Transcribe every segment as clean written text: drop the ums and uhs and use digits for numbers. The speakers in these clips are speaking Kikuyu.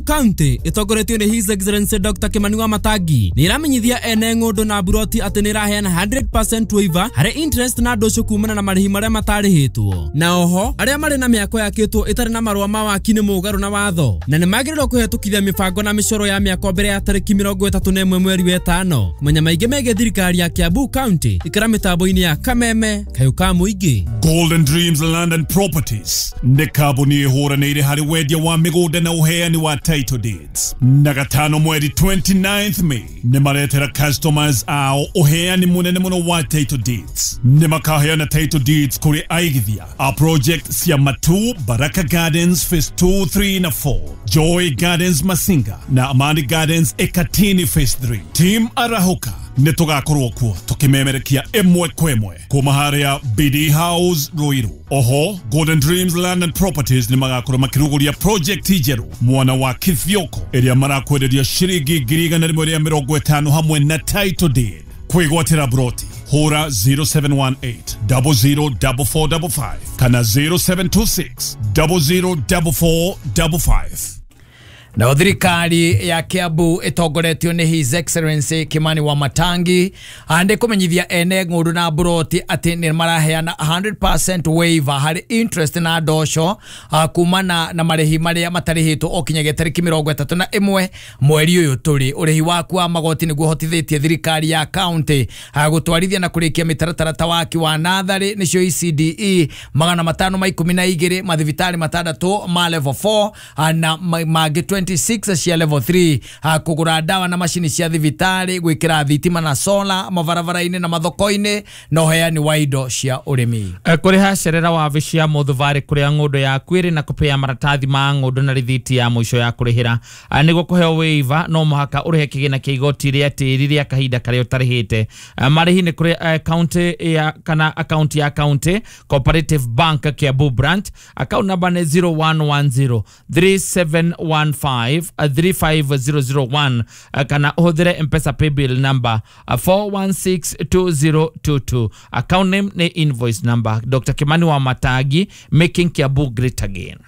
County ĩtongoretio nĩ His Excellency Dr. Kimani Wamatangi nĩ ĩramenyithia ene ng'ũndũ na buroti atĩ nĩ ĩraheana 100% waiver harĩ interest na ndũcũ kumana na marĩhi marĩa matarĩhĩtwo. Na oho arĩa marĩ na mĩako yakĩtwo ĩtarĩ na marũa ma waki nĩ mũgarũ na watho na nĩ magĩrĩirwo kũhetũkithia mĩbango na mĩcoro ya mĩako mbere ya tarĩki 31 mweri wa ĩtano. Kũmenya maingĩ megiĩ thirikari ya Kiambu County ikara mĩtambo-inĩ ya Kameme Kayũ ka Mũingĩ. Golden Dreams Land and Properties nĩ kambuni ĩhũranĩire harĩ wendia wa mĩgũnda na ũheani wa title deeds. Na gatano mweri 29th May nĩ maretera customers ao ũheani mũnene mũno wa title deeds. Nĩ makaheana title deeds kũrĩ aigithia a project cia Matu, Baraka Gardens Phase 2, 3 na 4, Joy Gardens Masinga na Amani Gardens Ekatini Phase 3. Team Arahuka nĩ tũgakorwo kuo tũkĩmemerekia ĩmwe kwa ĩmwe kuma harĩa BD House Ruiru. Oho Golden Dreams Land and Properties nĩ magakorwo makĩrugũria project njerũ mwana wa Kithioko ĩrĩa marakwenderia ciringi 150,000 hamwe na title deed. Kwĩgwatĩra broti hũra 0718 004455 kana 0726 004455. Na thirikari ya Kiambu ĩtongoretio nĩ His Excellency Kimani Wamatangi ande kũmenyithia ene ng'ũndũ na buroti atĩ nĩ maraheana 100% waiver harĩ interest na ndoco kumana na marĩhi marĩa matarĩhĩtwo o kinyagia tarĩki 31 mweri ũyũ tũrĩ. Ũrĩhi waku wa magoti nĩguo ũhotithĩtie thirikari ya county gũtwarithia na kũrĩkia mĩtaratara ta waki wa natharĩ nĩcio ECDE 512, mathibitarĩ 6 ma level 4 na mangĩ 26 cia level 3, kũgũra ndawa na macini cia thibitarĩ, gwĩkĩra thitima na sola mabarabara-inĩ na mathoko-inĩ na ũheani wa indo cia ũrĩmi. Kũrĩha cerera wabici ya Mũthubarĩ kũrĩa ng'ũndũ yaku ĩrĩ na kũpea maratathi ma ng'ũndũ na rithiti ya mũico ya kũrĩhĩra. Nĩguo kũheo waiver no mũhaka ũrĩhe kĩgĩna kĩa igoti rĩa tĩri rĩa kahinda karĩa ũtarĩhĩte. Marĩhi nĩ kũrĩ county ya kana account ya county Cooperative Bank Kiambu branch, account number nĩ 0110 3715 35001 kana ũhũthĩre M-Pesa paybill number 4162022. Account name nĩ invoice number. Dr. Kimani Wamatangi, making Kiambu great again.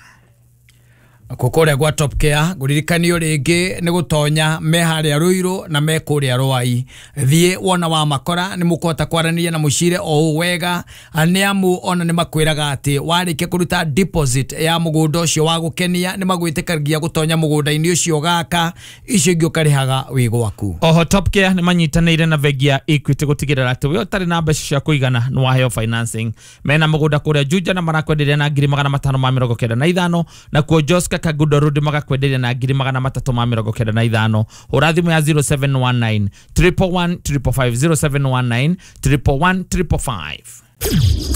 Kũrĩa gwa Top Care ngũririkanio rĩngĩ nĩ gũtonya me harĩa Ruiru na me kũrĩa Rwai. Thiĩ wona wa makora nĩ mũkũhota kwaranĩria na mũcire o ũũ wega, nĩ amu ona nĩ makwĩraga atĩ warĩkia kũruta deposit ya mũgũnda ũcio wa gũkenia nĩ magwĩtĩkagia gũtonya mũgũnda-inĩ ũcio gaka, icio ingĩ ũkarĩhaga wĩ gwaku. Oho Top Care nĩ manyitanĩire na bengi ya Equity gũtigĩrĩra atĩ we ũtarĩ na mbeca cia kũigana nĩ waheo financing. Mena mũgũnda kũrĩa Juja na marakwenderia na 595 na kuo Joska Kagudo Road magakwenderia na 395. Hũra thimũ ya 0719 111 555 0719 111 555.